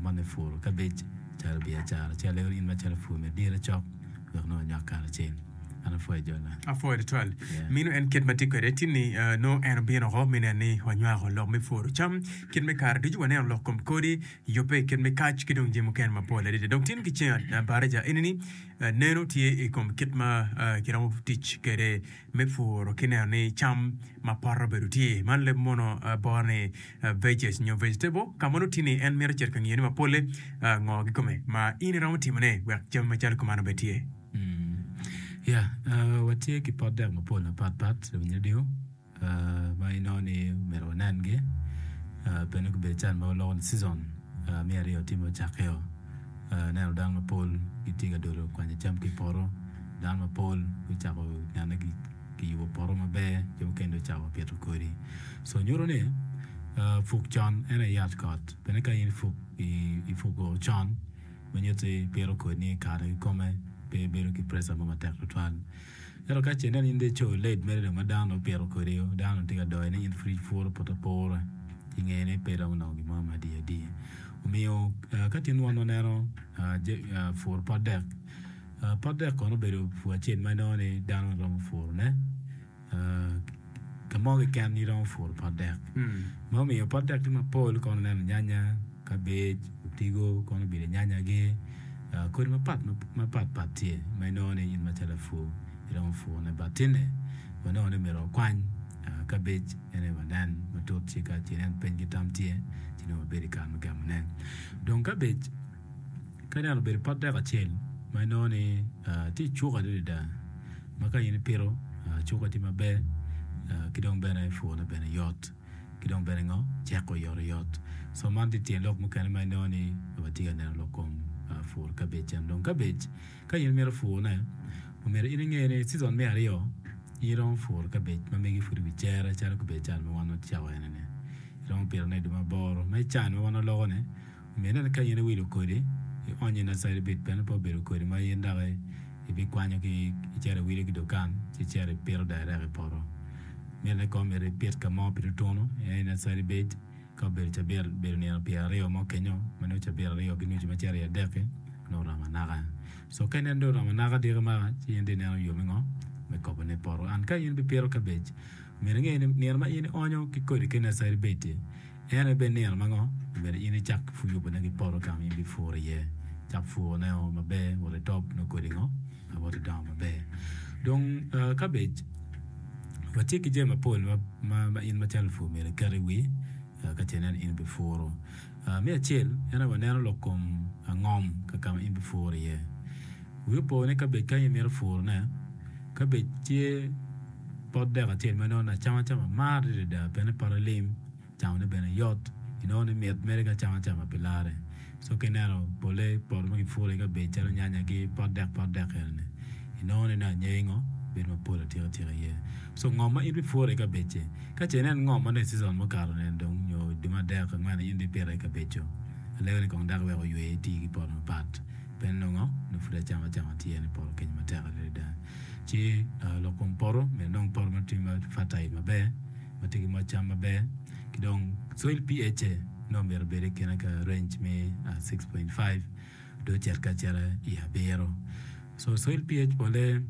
man me puro kabej calo biacara. Ci alego ni in macalo pur myero idire cok wek nongo wanywak karacel. An apwoyo jola. Apwoyo tutwal. Yeah. Mino en kit ma tye kwede tin ni eh, nongo en obino oko me neno ni wanywako lok me puro cam kit me kare ducu waneno lok kom kodi yubbe i kit me kac ki dong jami mukene mapol adada. Dong tin ki ceng eh, baraja eni ni eh, neno tye i kom kit ma eh, kiromo tic kwede me puro ki neno ni cam ma poto obedo tye. Man leb mono boro ni veggies nyo vegetable ka ma nongo tye ni en mito cito ka ngiyone ma polle ngo kikome ma in iromo timone wek jami macalo kuman obed tye. Ya, watye ki pot dek mapol mapat pat i radio ma inongo ni myero wanengi pien ni gubedo can ma waloko ni season me aryo tye ma ocakkeo. Aneno dano mapol gitye ka dolo kwanyo cam ki i poto, dano mapol gucako nene kiyubo poto maber, jo mukene dong ocako pito kodi. Co nyuto ni puk con en aye yat kot pien ka in ipuko con ma nyutti ipito kodi-ni i kare kikome pe ibedo ki preca mo matek tutwal. Ento ka ce inen in dong icoyo late mere dong ma dano dong opito kodi dano dong tye ka doyone in pud ipuro poto apura i ngeye ni pe iromo nongo gin mo ma adier adier. Omiyo ka tin wan waneno puro pot dek, pot dek kono obedo pur acel ma inongo ni dano romo purone ka mo keken iromo puro pot dek. Ma omiyo pot dek tye mapol kono ineno nyanya, kabej, otigo kono obedo nyanyagi, kodi mapat pat tye ma inongo ni in macalo lapur iromo purone but tinne wanongo ni myero wakwany kabej en aye wanen matut ci ka ce inen peny ki tam tye ci nongo wabedo i kare me gamone. Dong kabej ka ineno obedo pot dek acel ma inongo ni tye icuk adada ma ka in ipito cukke tye maber ki dong bene purone bene yot. ki dong bene ngo ceko oyotoyot. So man tye tyen lok mukene ma inongo ni watye ka neno lok kom pur kabej eno. Dong kabej ka in imito purone omyero in inge ni season me aryo in iromo puro kabej ma megi pud i wi cere calo kabej can ma wan wacako ene ni iromo pitone i dwe me aboro ma i can ma wan waloko ni Myero inen ka in iwilo kodi, ionyo i nursery bed pien pe obedo kodi ma in dok ibikwanyo ki icito iwilo ki dukan ci icito ipito direct i poto. Mitte ni kong myero ipit ka mo pi tutunu en i nursery bed ka obedo cabit obedo nino pyeraryo mo kenyo ma nongo cabit aryo ki nucu ma cito i adek-ki nongo oromo anaka. So ka ineno dong oromo anaka diki maka ci in dong ineno yo me ngo me kobone i poto. And ka in ibipito kabej myero inge ni nino ma in ionyo ki kodi ki nursery bed-di En aye bed nino ma ngo? Myero in icak yubone ki poto ka ma in ibipuro iye. Cak purone-o maber wot itop nongo kodi ngo? Wot idongo maber. Dong kabej watye ki jami mapol ma in macalo lapur myero iket i wi ka ce inen in ibipuro. Me acel en aye waneno lok kom ngom ka ka ma in ibipuro iye. Wi opo ni kabej ka in imito purone, kabej tye pot dek acel ma inongo ni acama cama mar adada pien ni pote lim. Camone bene yot, inongo ni mit mere ki acama cama pi larre. Co ka ineno pole poto ma kipuro i kabed calo nyanya ki pot dek pot dek eni, inongo ni nongo anyai ngo bedo mapol atika tika iye. Co ngo ma in ibipuro i kabed-ci? Ka ce inen ngo ma nongo i cizon mukato ni dong nyo dwe me adek angwen in dong ipito i kabed-co, alego ni kong dok iwek oywe iti ki poto mapat pien nongo nongo pud acama cama tye ni poto kenyo matek adada. Ci lok kom poto myero inong poto ma tye ma fertile maber. ma tye ki moc cam maber ki dong soil pH nongo myero obed i kine ka range me 6.5 dong ocit ka acita i abiro. So soil pH pole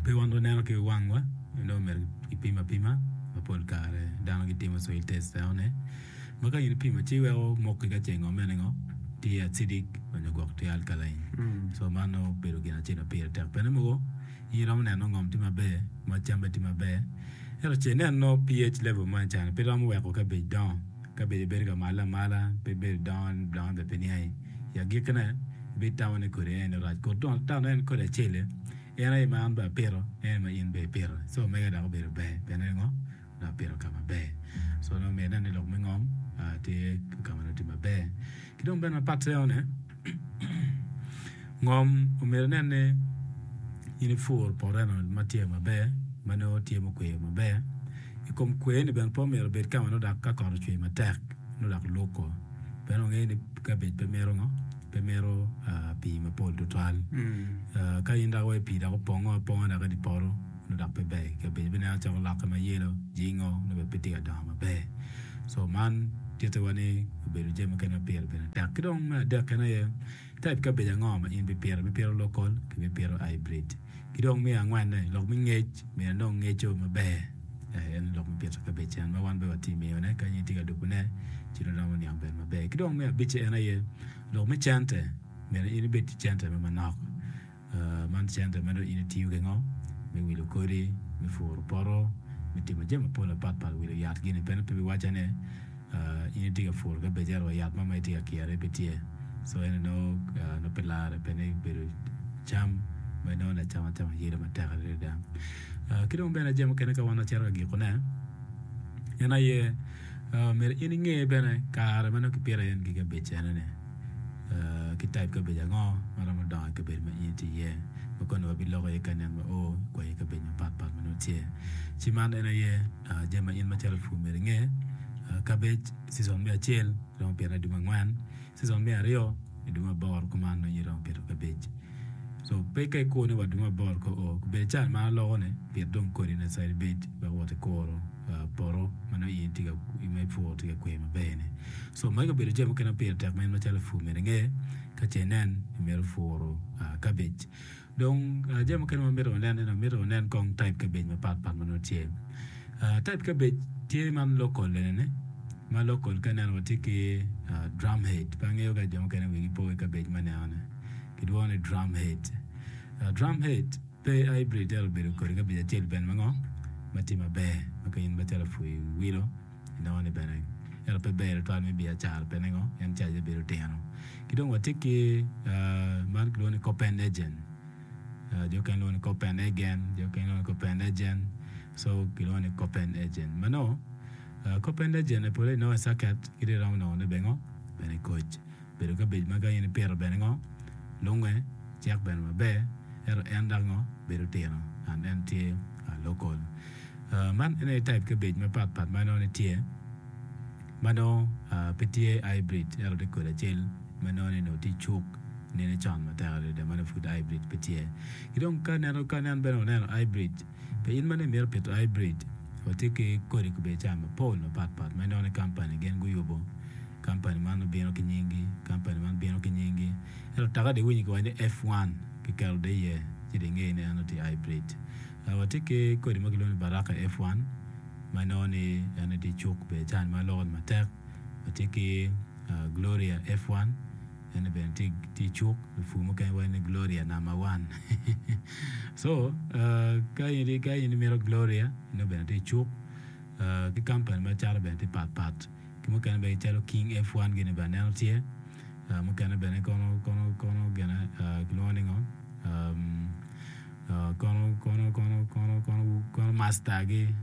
pe wan waneno ki wangwa nongo myero kipim apima ma pol kare dano gitimo soil test enoni ma ka in ipimo ci weko moki ka ce ngo mene ngo tye acidic onyo gwok tye alkaline so man nongo obedo gin acel ma pire tek bene mogo In iromo neno ngom tye maber, ma camme tye maber, ento ce inen nongo PH level mo ecani pe romo weko kabej dongo, kabej bedo ka male amala pe bedo dongo dongo bene pe niangi. I agikkine ibitamo ni kodi eni rac kut dong tamo en kodi acel-li en aye ma an bene apito en aye ma in bene ipito co mege dok obedo ber pien ni ngo dong apito ka maber. Co nongo myero inen ni lok me ngom tye ka ma nongo tye maber. Ki dong bene mapat eno-ni Ngom omyero inen ni in ipur poto eno ma tye maber ma nongo tye mukweyo maber i kom kwer ni bene pe omyero obed ka ma nongo dok ka kot ocwer matek nongo dok luko pien wangeyo ni kabej pe mito ngo pe mito pii mapol tutwal ka in dok iweko pii dok opongo aponga dok i dye poto nongo dok pe ber kabej bineno cako lokke ma yelo jingo nongo bene pe tye ka dongo maber co man tittiwa ni obedo jami mukene ma pire bene tek. Ki dong me adek en aye type kabej ango ma in bipito, ibipito local ki ibipito hybrid. Ki dong me angwenne lok me ngec myero inong ngeco maber en lok me pito kabej en ma wan bene watye miyone ka in itye ka lubone ci dong iromo niang bene maber. Ki dong me abicce en aye lok me cente myero in ibed ki cente mo manok. Man cente ma dong in itiyo ki ngo? Me wilo kodi, me puro poto, me timo jami mapol mapat pat, wilo yat gini bene pe biwacca ni in itye ka puro kabej ento wa yat mo ma itye ka kire pe tye. So eni nongo pe lare pien ni obedo cam ma inongo ni acama acama yelo matek adada. Ki dong bene jami mukene ka wan wacito ka gikone en aye myero in inge bene kare ma nongo kipito iye ki kabej enoni. Ki type kabedo ango ma romo dongo i kabedo ma in itye iye? Ma koni wabiloko iye ka nen wa o i kwayi kabedo mapat pat ma nongo tye. Ci man en aye jami ma in macalo lapur myero inge. Kabej cizon me acel iromo pito i dwe me angwen, cizon me aryo i dwe me aboro kuman nongo in iromo pito kabej. So pe ka ikur ni wa dwe me aboro ka oo, obedo ca ma aloko ni pit dong kodi na calo ibed wek wot ikuro poto ma nongo in itye ka ma ipuro tye ka kwer maber ni. So magi obedo jami mukene ma pire tek ma in macalo lapur myero inge ka ce inen imito puro kabej. Dong jami mukene ma mito wanen ene mito wanen kong type kabej mapat pat ma nongo tye. Type kabej tye man local ene ma local ka ineno watye ki drumhead pe angeyo ka jo mukene wigi po ki kabej ma ineno ni. Kilwongo ni drumhead. Drumhead pe hybrid ento obedo kodi kabedo acel bene ma ngo ma tye maber ma ka in macalo apur iwilo inongo ni bene ento pe ber tutwal me biacara pien ningo en caje bedo tino. Ki dong watye ki man kilwongo ni Copenhagen jo mukene lwongo ni Copenhagen jo mukene lwongo ni Copenhagen so kilwongo ni Copenhagen ma nongo Copenhagen pole inongo i caket ki dong iromo nongone bene ngo bene i koc. Bedo kabej ma ka in ipito bene ngo lunge cek bene maber ento en dok ngo bedo tino and en tye local. Man en aye type kabej mapat pat ma inongo ni tye ma nongo pe tye hybrid ento tye kodi acel ma inongo ni onongo tye cuk nene con matek adada ma nongo pud hybrid pe tye. Ki dong ka ineno ka inen bene waneno hybrid pe in ma nongo imito pito hybrid watye ki kodi kabedo ca mapol mapat pat ma inongo ni kampani gin guyubo. Kampani man obino ki nyingi, kampani man bino ki nyingi. Ento taka dong iwinyo kiwaco ni F1 kiketo dong iye ci dong ingeyo ni eno tye hybrid. Watye ki kodi ma kilwongo ni Baraka F1 ma inongo ni en aye tye i cuk bene cani ma loko ni matek. Watye ki Gloria F1 eni bene tye i cuk lupur mukene waco ni Gloria number one. So ka in imito Gloria nongo bene tye i cuk ki kampani ma cato bene tye pat pat. Ki mukene bene calo King F1 gini bene aneno tye, mukene bene kono kono kono gine kilwongo ni ngo kono kono kono kono kono kono master gi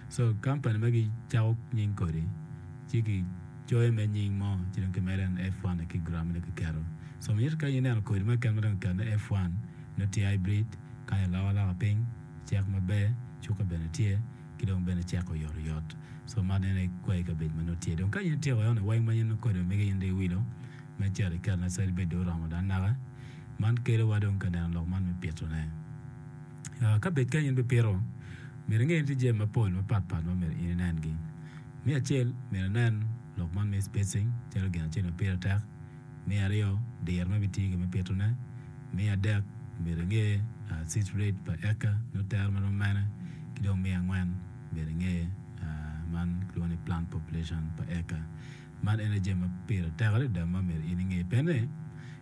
so kampani ma gicako nying kodi ci kicoyo me nying mo ci dong kimedo en F1 ki gram ne kiketo so mito ka ineno kodi mo keken ma dong kiketo ni F1 nongo tye hybrid kany aloko aloka piny cek maber cuka bene tye. ki dong bene ceko oyotoyot. So man en aye kwayi kabedo ma nongo tye. Dong ka in ityeko eno weng ma in kodi omege in dong iwilo me cito iketo ne calo bed dong oromo dong anaka, man kelo wa dong ka neno lok man me pito ne. Ka bed ka in bipito, myero inge ni tye jami mapol mapat pat ma myero in inen gi. Me acel, myero inen lok man me spacing calo gin acel ma pire tek. Me aryo, diro ma ibitiyo kwede me pitone. Me adek, myero inge seed rate pa eka nyo tero ma romo mene. Ki dong me angwen, myero inge man kilwongo ni plant population pa eka. Man ene jami ma pire tek adada ma myero in inge. Pien ni,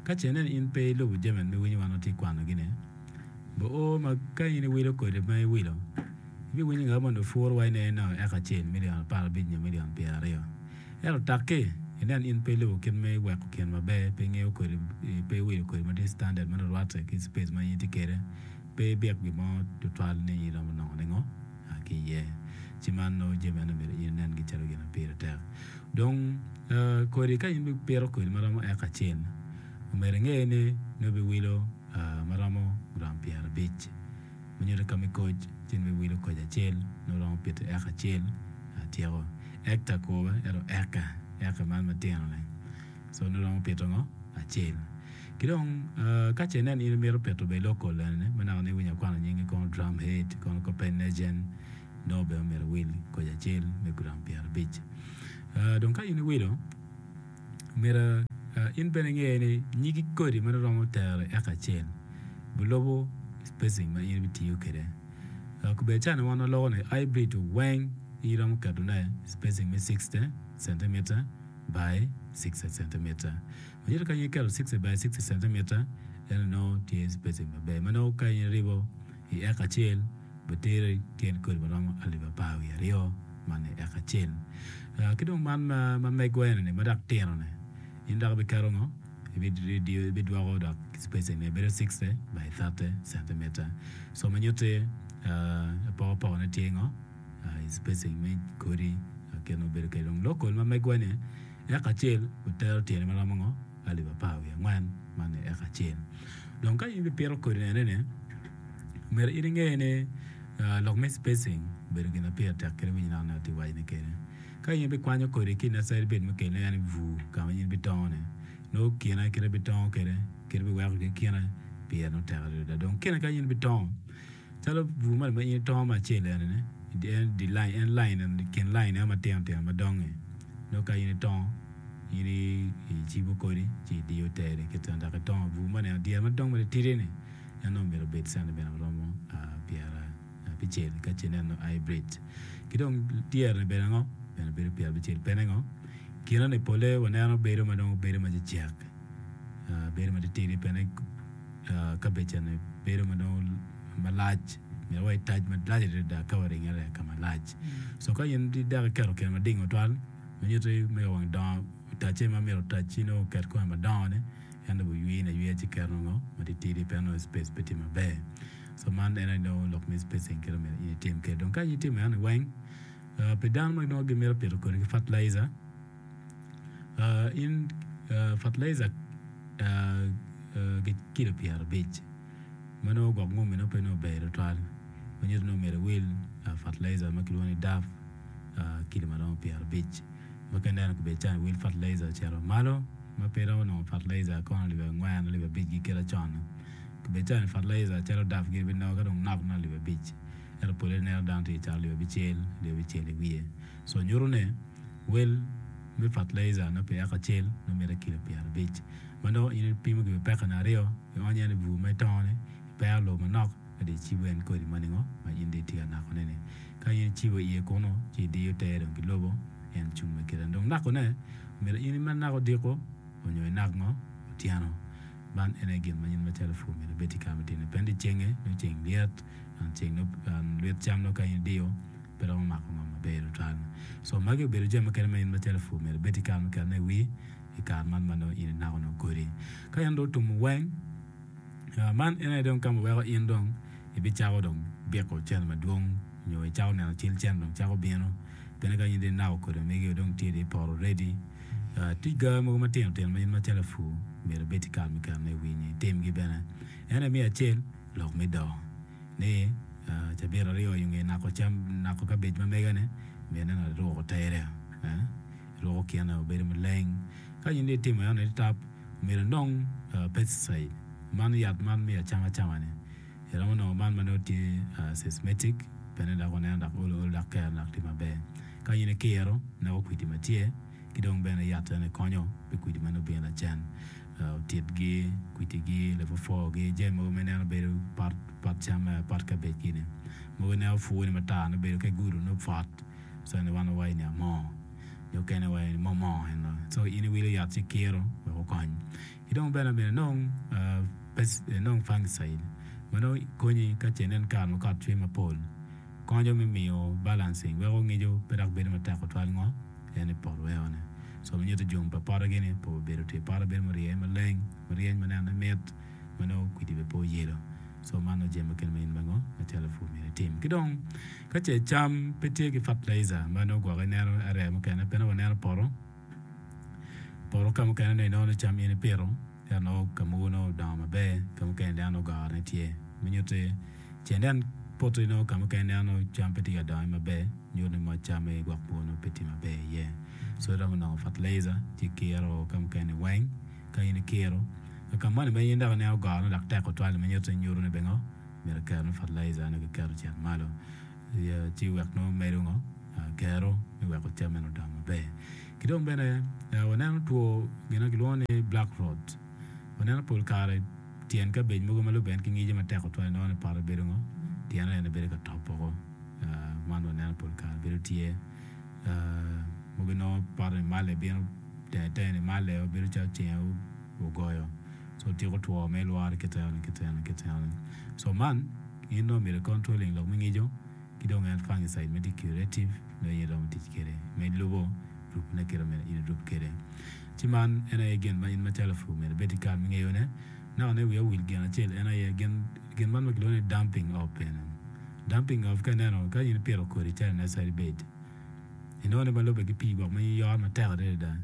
ka ce inen in pe ilubo jami ma iwinyo wan watye ka kwanogi-ni, oo ma ka in iwilo kodi ma iwilo, ibiwinyo ngat mo onongo puro wa ine inongo eka acel milion aparabic nyo milion pyeraryo. Ento takki inen in pe ilubo kit me weko kin maber, pe ingeyo kodi, pe iwilo kodi ma tye standard ma nongo rwatte ki space ma in itye kwede, pe ibik gin mo tutwal ni in iromo nongo ningo ki iye. Ci man nongo jami eno myero in inengi calo gin ma pire tek. Dong kodi ka in ibipito kodi ma romo eka acel, omyero inge ni nongo ibiwilo ma romo gram pyerabic. Ma nyuto ka me koc, ci nongo ibiwilo koc acel, nongo romo pito eka acel atyeko. Hectare kwo ento eka, eka man matino-ni. So nongo romo pito ngo? Acel. Ki dong ka ce inen in imito pito bene local eni ma naka nongo iwinyo akwano nyingi kono Drumhead, kono Copenhagen, nongo bene omyero iwil koc acel me gram pyerabic. Dong ka in iwilo, myero In bene inge ni nyig kodi ma romo tero i eka acel bilubo spacing ma in ibitiyo kwede. Kubed cani wan waloko ni hybrid weng in iromo ketone spacing me 60 centimeter by 60 centimeter. Ma nyuto ka in iketo 60 by 60 centimeter eno nongo tye spacing maber ma nongo ka in iribo i eka acel biteri tyen kodi ma romo alip 12 man i eka acel. Ki dong man ma megwa eni ma dok tino ni in dok ibiketo ngo? Ibidwoko dok spacing ne bedo 60 by 30 centimeter. So ma nyutti apokapoka ne tye ngo? I spacing me kodi kit ma obedo kwede. Dong local ma megwa ni eka acel otero tyene ma romo ngo? 14,000 man i eka acel. Dong ka in ibipito kodi ene ni myero in inge ni lok me spacing obedo gin ma pire tek kadi winyo naka naka tye waco ni kede. Ka in ibikwanyo kodi ki i nursery bed mukene en i bur ka ma in ibitongo ni nongo kine kite ibitongo kwede kite ibiweko ki kine pire nongo tek adada. Dong kine ka in ibitongo calo bur moni ma in itongo me acel eni ni en di line en line eni kin line eno matino tino madongo-ni nongo ka in itongo in icibo kodi ci idiyo tere kit dok itongo bur moni dyere madong matitidi-ni en nongo myero obed centimeter maromo pyerabicel ka ce ineno hybrid. Ki dong dyere-ni bedo ango? Bene bedo pyerabicel pien ningo? Kine-ni pole waneno bedo ma dong bedo macecek bedo matitidi pien kabej eni bedo ma dong malac myero wa itac malac adada ka waringere ka malac. So ka in dok iketo kine mading tutwal ma nyuto ni mege wang dongo otacce ma myero otac ci nongo oket kome madongo ni en dong oywine ayweya ci keto ngo matitidi pien nongo space pe tye maber. So man en aye nongo lok me spacing kit ma myero in itim kwede. Dong ka in itimo eno ni weng pi dano ma nongo gimito pito kodi ki fertilizer in fertilizer ki kilo 50 ma nongo gwok ngumi nongo pe nongo ber tutwal ma nyuto ni myero iwil fertilizer ma kilwongo ni daf kilo ma romo 50 ma ka ineno kibedo calo iwil fertilizer ocito malo ma pe iromo nongo fertilizer kono alip angwen alip abic gi kite con kibedo calo fertilizer calo daf giri binongo ka dong nok nongo alip abic ento pole ineno dano tye ka cato alip abicel alip abicel i wiye so nyuto ni Wel me fertilizer nongo pi eka acel nongo mitte kilo 50 ma nongo in ipimo ki pekane aryo ionyo en i bur ma itongo ni ipero lobo manok ka dong icibo en kodi ma ningo ma in dong itye ka nako ne ni. Ka in icibo iye kunu ci idiyo tere dong ki lobo en cung me kite. Dong nako ne myero in imed nako odiko onyo inak ngo otyeno. Man en aye gin ma in macalo pur myero ibed ki kare me timo ne pien dyecenge nongo ceng lyet ceng nongo lwit cam nongo ka in idiyo pe romo mako ngom maber tutwal. So magi obedo jami mukene ma in macalo lapur myero ibed ki kare me ketone i wii i kare man ma nongo in inako nongo kodi. Ka in dong otumo weng, man en aye dong ka ma weko in dong ibicako dong biko cente madwong nyo icako neno cal cente dong cako bino pien ka in dong inako kodi ma megi dong tye dong i poto already. Tye ga mogo matino tino ma in macalo lapur myero ibed ki kare me ketone i wii nyo itimgi bene. En aye me acel lok me doo. Ni cabit aryo i nge nako cam, nako kabej ma mega-ni, myero inen aruko tere, ruko kine obedo maleng. Ka in dong itimo eno ni tap, myero inong pesticide, man yat man me acama acama-ni. Iromo nongo man ma nongo tye systematic, bene dok waneno dok olo olo dok kero dok tye maber. Ka in ikiro, neko kwidi ma tye. ki dong bene yat ene konyo pi kwidi ma nongo bino lacen, otitgi, kwitigi, lapwopwogi, jami mogo ma ineno bedo pot pot cam pot kabej gini mogo ineno pwoni matar nongo bedo ka igudo nongo pwot so eni wan wawaco ni amoo jo mukene waco ni momoo eno so in iwilo yat ci ikiro wek okony ki dong bene myero inong inong fungicide ma nongo konyi ka ce inen kare ma kot cwe mapol konyo me miyo balancing weko ngico pe dok bedo matek tutwal ngo. En i poto weko ne. So ma nyuto jung pa poto gini pe obedo tye poto bedo murye maleng maryeny ma nene mit ma nongo kwidi bene pe oyelo. So man nongo jami mukene ma in bango macalo lapur myero itim. Ki dong ka ce cam pe tye ki fertilizer ma nongo gwok ineno area mukene pe nongo waneno poto poto ka mukene nongo inongo ni cam in ipito Ento nongo ka mogo nongo odongo maber, ka mukene ineno nongo gorone tye. Ma nyutti ce inen poti nongo ka mukene ineno nongo cam pe tye ka dongo maber, nyuto ni moc cam aye gwok mogo nongo pe tye maber iye. So iromo nongo fertilizer ci ikiro ka mukene weng. Ka in ikiro, ka moni ma in dok ineno gorone dok tek tutwal ma nyutti nyuto ni bene ngo myero kiketo ni fertilizer nongo kiketo ocit malo ci wek nongo medo ngo kero me weko cam meno odong maber. Ki dong bene waneno two gin ma kilwongo ni black rot. Waneno pol kare tyen kabej mogo ma lubbe en ki ngico matek tutwal inongo ni pote bedo ngo tyene ene bedo ka top woko. Man waneno pol kare bedo tye mogo inongo pote ni male bino tenge tenge ni male bedo calo ceng ogoyo so tyeko two ma ilworo kite eno kite eno kite eno. So man in nongo myero i controlling lok me ngico. Ki dong en fungicide ma tye curative nongo in iromo tic kwede ma ilubo rub ne kit ma myero in irub kwede. Ci man en aye gin ma in macalo lapur myero ibed ki kare me ngeyo ne. Naka ne wiya owil gin acel en aye gin gin man ma kilwongo ni dumping off bene. Dumping off ka ineno ka in ipito kodi calo i nursery bed inongo ni ma lube ki pii gwok ma in iyoro matek adada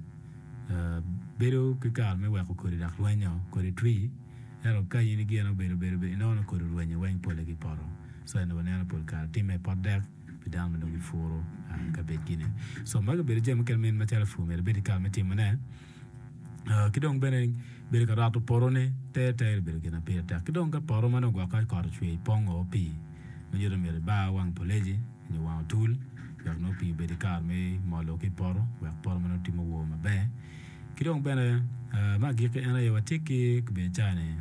bedo ki kare me weko kodi dok rwenyo kodi twi. Ento ka in gin obedo bedo bedo inongo ni kodi orwenyo weng pole ki poto. So ento waneno pol kare timme i pot dek pi dano ma dong gipuro kabedgi ni. So magi obedo jami mukene ma in macalo lapur myero ibed ki kare me timo ne. Ki dong bene bedo ka roto poto ni tere tere obedo gin ma pire tek. Ki dong ka poto ma nongo gwok ka kot ocwe ipongo pii ma nyuto ni myero ibar wang poleji nyo wang otul wek nongo pii obed ki kare me molo ki i poto wek poto ma nongo tye muwor maber. Ki dong bene me agikki en aye watye ki biacara-ni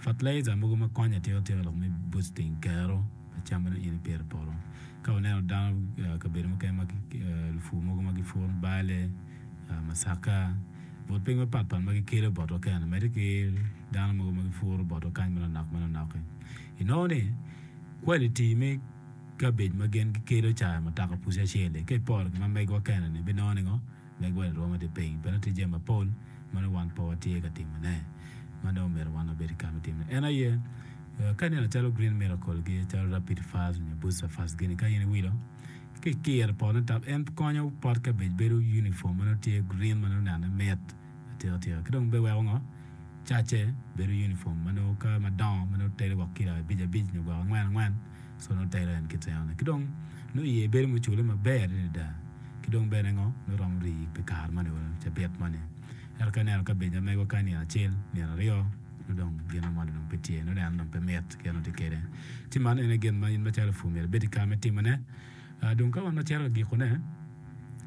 fertilizer mogo ma konyo atika tika lok me boosting kero pa cam ma nongo in ipito i poto. Ka waneno dano kabedo mukene ma lupur mogo ma gipuro bale, masaka, but piny mapat pat ma gikelo botwa kene medde ki dano mogo ma gipuro botwa kany manonok manonok-ki. Inongo ni quality me kabej ma gin gikelo ca mutoka puci acel-li ka iporo ki ma megwa kene-ni ibinongo ni ngo? Meg wa i rwom ma tye piny, pien tye jami mapol ma nongo wan pe watye ka timone, ma nongo myero wan wabed ki kare me timone. En aye, ka ineno calo Green Miracle gi, calo Rapid Fast nyo Booster Fast gini, ka in iwilo, ka ikiro i potone tap, en konyo pot kabej bedo uniform ma nongo tye green ma nongo nene mit atika tika. Ki dong bene weko ngo? Cacce bedo uniform ma nongo ka madongo ma nongo telo gwok kilo abic abic nyo gwok angwen angwen so nongo telo en kit enoni ki dong nongo iye bedo mucule maber adada ki dong bene ngo nongo romo rii pi kare moni wa cabit moni ento ka ineno ka bedo ma megwa kany nino acel nino aryo nongo dong gin moni dong pe tye nongo neno dong pe mit kit ma tye kwede ci man ene gin ma in macalo lapur myero ibed ki kare me timone. Dong ka wan wacito ka gikone,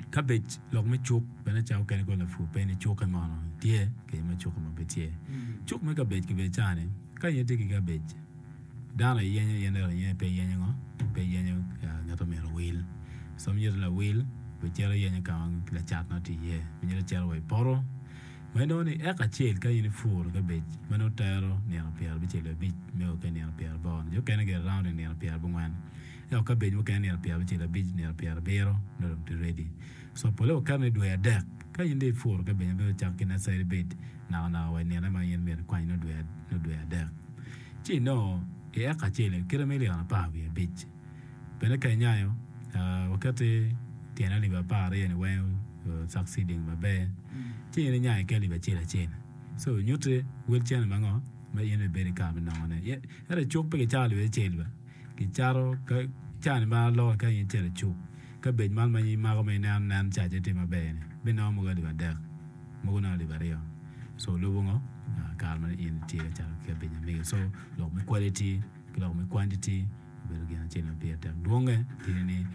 ka bec lok me cuk bene ca okene kono lapur pe ni cukke mono tye kec ma cukke mo pe tye. Cuk me kabej kibedo ca ni ka in itye ki kabej dano aye yenyo in ento in pe iyenyo ngo pe iyenyo ngat ma myero owil so myero lawil bicito yenyo ka ma lacat nongo tye iye myero icito wa i poto ma inongo ni eka acel ka in ipuro kabej ma nongo tero nino pyerabicel wiye abic me o ki nino pyeraboro jo okene gire round i nino pyerabongwen. Ento ka bed mukene nino pyerabicel abic, nino pyerabiro nongo dong tye ready. So pole waketo ni dwe adek ka in dong ipuro ka bene myero icak ki nursery bed naka naka wa i nine ma in myero ikwany nongo dwe adek. Ci inongo i eka acel kite million 15. Bene ka inyayo waketo tyene alip 12 ni weng succeeding maber ci in inyayo ki alip acel acel. So nyutti wel cene ma ngo ma in ibedo ki kare me nongone. Ento i cuk pe kicako alip acel ba. Kicato ka cani ma aloko ka in icito i cuk, kabej man ma in imako ma ineno nen cace tye maber ni binongo mogo alip adek mogo nongo alip aryo so lubo ngo kare ma in itye ka cato ki kabej ma megi so lok me quality ki lok me quantity obedo gin acel ma pire tek dwonge tye ni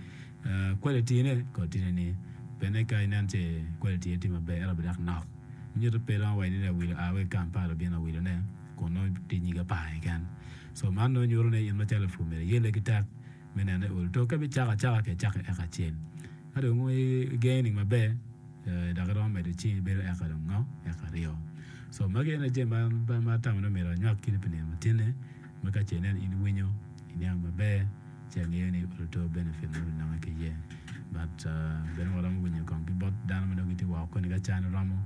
quality ne kong tye ni bene ka inen ce quality ne tye maber ento bene dok nok nyuto pe romo waco ni awilo aa wa i Kampala obino awilo ne kun nongo tye nyig apar keken. Co man nongo nyuto ni in macalo lapur myero iyelle ki tek me neno ni olo to ka ibicako acaka ki icako eka acel. Ka dong igaining maber dok iromo medo ci bedo eka dong ngo? Eka aryo. Co magi ene jami ma atamo ni myero anywak kidi pi nino matine ma ka ce inen in iwinyo iniang maber ci angeyo ni olo to benefit ma obinonge ki iye. But bene waromo winyo kong ki bot dano ma nongo gitye woko koni ka can oromo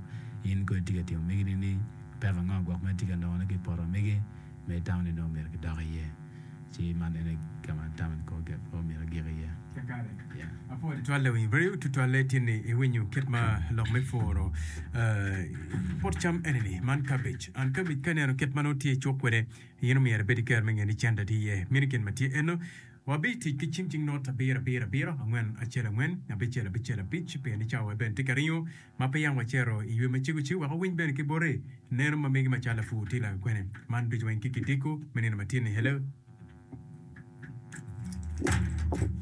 in kong itye ka timo megi nining? Peko ango gwok ma itye ka nongone ki i poto megi? ma itamo ni nongo myero kidok iye, ci man ene ka ma atamo ni kong myero agik iye. Kakare. Yeah. Apwoyo tutwal lawiny radio tutwalle tye ni iwinyo kit ma lok me puro pot cam eni-ni man cabbage and cabbage ka ineno kit ma nongo tye icuk kwede in omyero ibed ki kero me ngeyo ni cente tye iye meno gin ma tye eno wabitic ki cim cing not abiro abiro abiro angwen acel angwen abicel abicel abic pien ni cawa bene tye ka ringo Ma pe yam wacito i ywe macego ci wek wawiny bene ki boti neno ma megi macalo lapur tye lakwene. Man ducu weng ki kidiko me nino matin ni hello.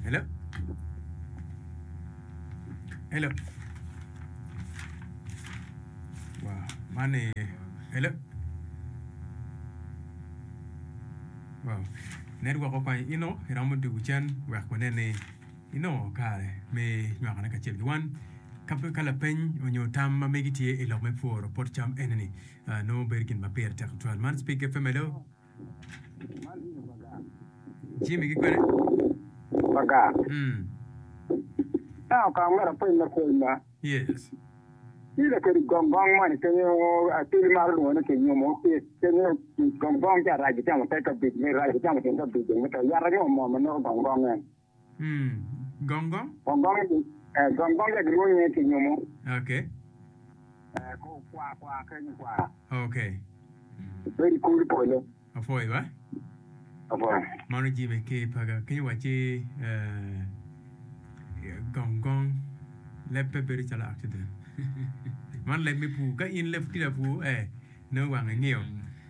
Hello. Hello. Man ni hello. Wow. Network okwanyo ino iromo dugu cen wek wanen ni inongo kare me nywakone kacel ki wan. Ka pe ka lapeny onyo tam ma megi tye i lok me pworo pot cam eni ni nongo bedo gin ma pire tek tutwal. Man Speak FM hello. Jimmy ki kwene? Baga. Mm. Ento kong myero apeny lapeny ba. Yes. Tye lakedi gong gong moni kenyo atwili maro lwongo ni kinyumo kenyo gong gong ca rac icamo te kabic me rac icamo tyen kabic dong me to yat ango mo ma neko gong gong en. Mm. Gong gong? Gong gong eh, gong gong ca gilwongo nyinge kinyumo. Okay. Eh, ko kwa kwa kenyo kwa. Okay. Bedo i kor polo. Apwoyo ba. Apwoyo. Mano Jimmy ki paga kenyo wacci eh, gong gong leb pe bedo calo accident. Man leb me pur. Ka in leb tye lapur eh, nongo wange ngiyo.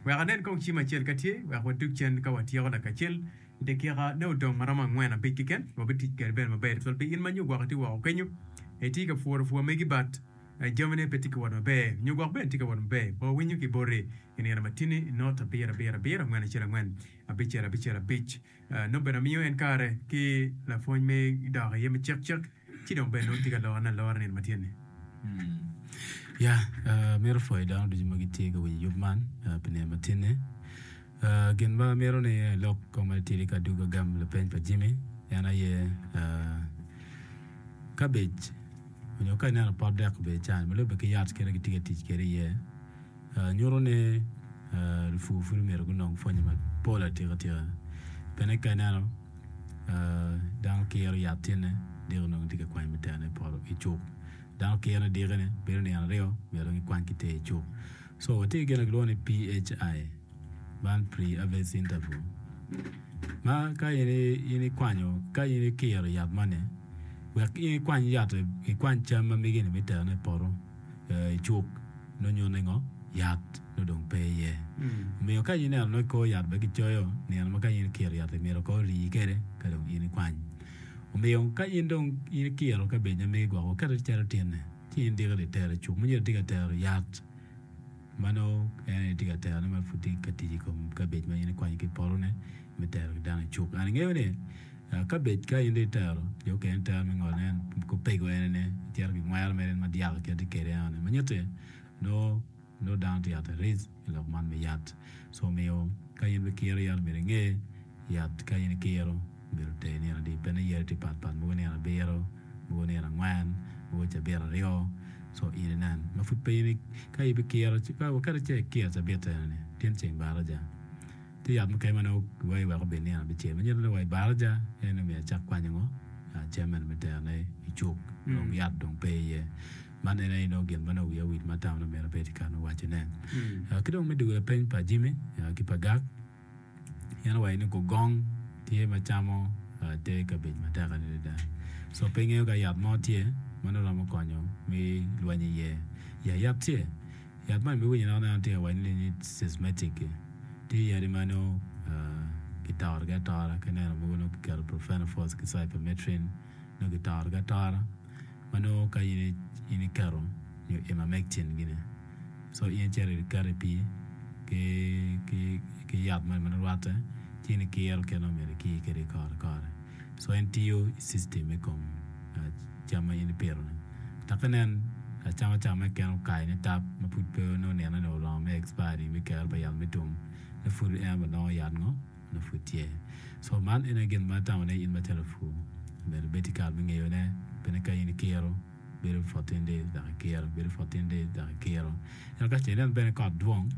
Wek anen kong cim acel ka tye, wek wadug cen ka watyeko lakacel. I dakika ne odong ma romo angwen abic keken, wabitic kwede bene maber tutwal pi in ma nyo gwok itye woko kenyo, itye ka pworo pur megi but jamine pe tye ka wot maber nyo gwok bene tye ka wot maber. Wawinyo ki boti i nino ma tini not abiro abiro abiro angwen acel angwen abicel abicel abic. Nongo bene amiyo en kare ki lapwony me dok iye me cek cek ci dong bene nongo tye ka lorone alora nino ma tye-ni. Ya, amito pwoyo dano ducu ma gitye ka winyo yub man pi nino ma tye-ni. Gin ma amito ni alok kong matitidi ka adwogo agamo lapeny pa Jimmy en aye kabej onyo ka ineno pot dek obedo cani ma lubbe ki yat kit ma gitye ka tic kwede iye nyuto ni lupur pud omyero gunong pwonye mapol atika tika pien ka ineno dano kiro yat tyene diki nongo tye ka kwanyo me terone i poto i cuk dano kiro dikine bedo nino aryo myero dong ikwany ki ter i cuk. So watye ki gin ma kilwongo ni PHI, man pre-harvest interval, ma ka in ikwanyo, ka in ikiro yat moni, wek in ikwany yat, ikwany cam ma megi-ni me terone i poto, i cuk, nongo nyuto ni ngo? Yat nongo dong pe iye. Omiyo ka in ineno nongo i kor yat bene kicoyo nino ma ka in ikiro yat-ti myero kong ori kwede ka dong in ikwany. Omiyo ka in dong in ikiro kabej ma megi gwoko kete calo tinne. Ci in diki itero i cuk ma nyo itye ka tero yat ma nongo en aye tye ka terone ma pud tye ka tic i kom kabej ma in ikwanyo ki i potone me tero ki dano i cuk. An ingeyo ni kabej ka in dong itero jo okene tero me ngolo ne opego en ene icito ki ngwero mere ma dyaka kit tye kwede enoni ma nyutti nongo nongo dano tye at risk i lok man me yat. Co omiyo ka in bikiro yat myero inge yat ka in ikiro myero oter nino adi pien yadi tye pat pat mogo nino abiro mogo nino angwen mogo cabit aryo co in inen ma pud pe in ka ibikiro kadi ce ikiro cabit eni tin ceng baraja tye yat mukene ma nongo kiwaci wek obed nino abicel ma nyuto ni wa i baraja en aye myero acak kwanyo ngo cam eni me terone i cuk dong yat dong pe iye. Man en aye nongo gin ma nongo wiya owil ma atamo ni myero abed i kare me wacone. Ki dong me dwogo lapeny pa Jimmy ki pa Gak, en owaco ni gugong tye ma camo te kabej matek adada. So pe ingeyo ka yat mo tye ma nongo romo konyo me lweny iye. Ya yat tye. Yat man ibiwinyo nongo neno tye ka waco ni systematic tye yadi ma nongo kitorogi atora ki neno mogo nongo kiketo profenofos ki cypermethrin nongo kitorogi atora. ma nongo ka in iketo nyo emamectin gini so in icito iketo i pii ki yat moni ma nongo rwatte ci in ikiro kit ma myero ikir kwede kore kore so en tiyo i system me kom cam ma in ipito-ni dok inen acama cam ma keken okayo nitap ma pud pe nongo nino-ni oromo me expiring me kero pa yat me tum nongo pud en bene nongo yat ngo? nongo pud tye. So man en aye gin ma atamo ni in macalo lapur myero ibed ki kare me ngeyo ne pien ka in ikiro bedo 14 days dok ikiro bedo 14 days dok ikiro ento ka ce inen bene kot dwong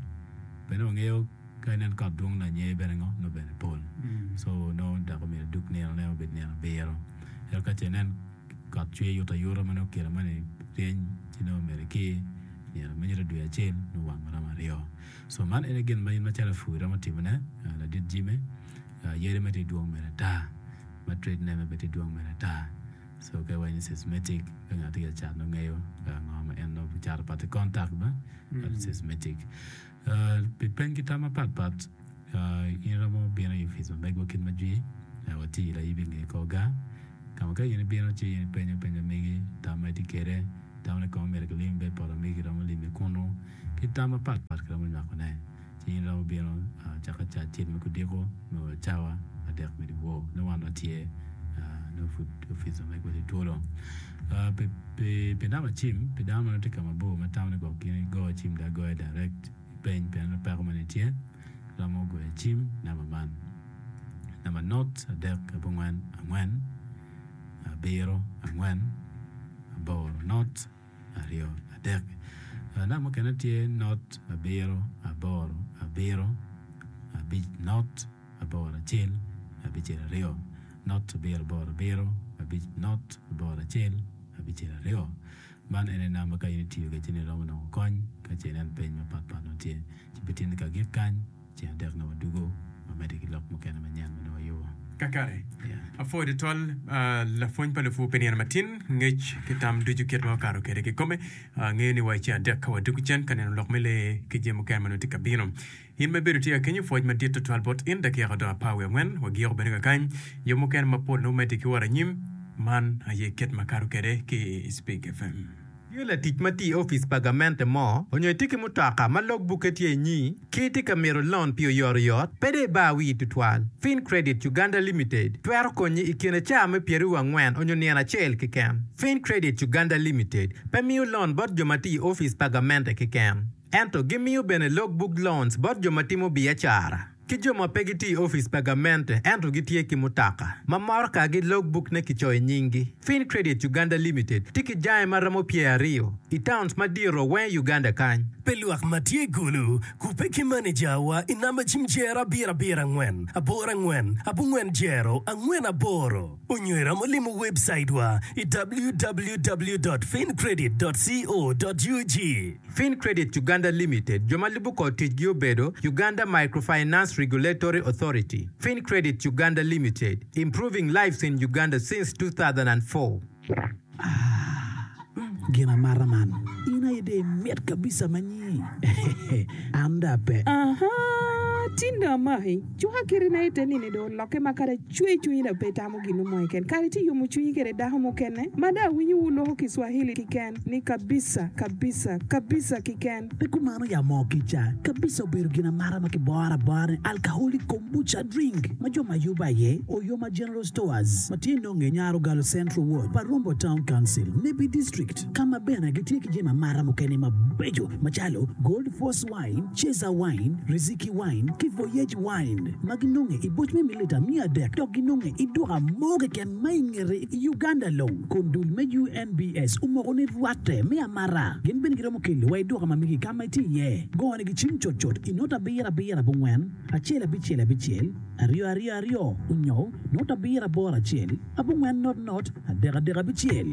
bene wangeyo ka inen kot dwong lanye bene ngo nongo bene pol so nongo dok myero idug nino ne obed nino abiro ento ka ce inen kot cwer yuto ayuta ma nongo kine moni ryeny ci nongo myero ikir nino ma nyuto dwe acel nongo wang maromo aryo. So man ene gin ma in macalo lapur iromo timone, ladit Jimmy, yadi ma tye dwong mere ata, ma trade name bene tye dwong mere ata. So ka iwaco ni systematic ka ngat tye ka cat nongo ngeyo ngo ma en nongo cato pat ki contact ba systematic. Pi peny ki tam mapat pat in iromo bino i opic ma megwa kit ma jwi watye i layibi nge kor gar ka ma ka in ibino ci in ipenyo peny ma megi tam ma itye kwede. Itamo ni kong myero kilim bed poto megi kiromo limi kunu. Ki tam mapat pat kiromo nywakone, ci in iromo bino cakke ca acel me kudiko nyo cawa adek me dyewor nongo wan watye nongo pud opic wa megwa tye twolo. Pi namba cim, pi dano ma nongo tye ka mabor ma tamo ni gwok gin gigo cim dong agoya direct peny pien nongo peko moni tye, romo goyo cim namba man, namba not adek abongwen angwen abiro angwen aboro not. 23. Namba mukene tye not abiro aboro abiro abic not aboro acel abicel aryo not abiro aboro abiro abic not aboro acel abicel aryo. Man ene namba ka in itiyo kwede ci nongo iromo nongo kony ka ce inen peny mapatpat nongo tye ci pe tye ni ka gik kany. Ceng adek nongo wadugo wamedde ki lok mukene manyen ma nongo wayubo. Kakare, apwoyo tutwal lapwony pa lupur pi nino matin, ngec ki tam ducu kit ma okato kwede kikome. Angeyo ni wa i ceng adek ka wadugo cen ka neno lok me lee ki jami mukene ma nongo tye ka bino. In ma ibedo tye ka kenyo, pwoc madit tutwal bot in. Dakika odong apar wiye angwen, wagiko bene kakany. Yub mukene mapol nongo medde ki wot anyim. Man aye kit ma kato kwede ki i Spik FM. Tye latic ma tye i opic pa gamente mo onyo itye ki mutoka ma log bukke tye inyi ki itye ka mito lon pi oyotoyot, pe dong ibar wii tutwal. Fin Credit Uganda Limited twero konyi i kine caa me pyeraryo angwen onyo nino acel keken. Fin Credit Uganda Limited pe miyo lon bot jo ma tye i opic pa gamente keken, ento gimiyo bene log book loans bot jo ma timo biacara. Ki jo ma pe gitye i opic pa gamente ento gitye ki mutoka ma morokagi logbukne kicoyo nyinggi. Fin Credit Uganda Limited tye ki jange ma romo pyeraryo i towns madito weng i Uganda kany. Pi lwak ma tye i Gulu, kubbe ki manejawa i namba cim jero abiro abiro angwen aboro angwen abongwen jero angwen aboro onyo iromo limo webcaitwa i www dot fincredit dot co dot ug. Fincredit Uganda Limited, jo ma lubo kor ticgi obedo, Uganda Microfinance Regulatory Authority, Fincredit Uganda Limited, improving lives in Uganda since 2004. Ah, gin amata man. In aye dong imit kabisa ma nyi. An dong ape. Ahaa, tin dong amaki. Cuka kiti na ite nini dong olokke ma kadi acwe cwinyi dong pe itamo ginu mo keken. Kadi itye yomo cwinyi kede dako mukene ma dong awinyo wu loko Kiswahili kiken ni kabisa, kabisa, kabisa kiken. Pe kumano ya moo kica. Kabisa obedo gin amata ma kiboro abora ni alcoholic kombucha drink ma jo ma yubo aye Oyoma General Stores ma tye nonge i Nyarogalo Central Ward pa Rombo Town Council, Nebbi District ka ma bene gitye ki jami amata mukene mabeco macalo Gold Force Wine, Ceza Wine, Riziki Wine ki Voyage Wine ma ginonge i boc me mililita miya adek dok ginonge i duka mo keken ma i ngete i Uganda long kun dul me UNBS omoko ni rwatte me amata. Gin bene giromo kelo wa i duka ma megi ka ma itye iye. Gone gi cim cutcut i not abiro abiro abongwen acel abicel abicel aryo aryo aryo onyo not abiro aboro acel abongwen not not adek adek abicel.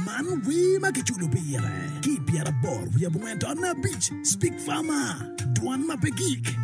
Man wer ma kiculo pire ki i pyeraboro wiye abongwen tonne abic, Speak Farmer, Dwan ma pe gik.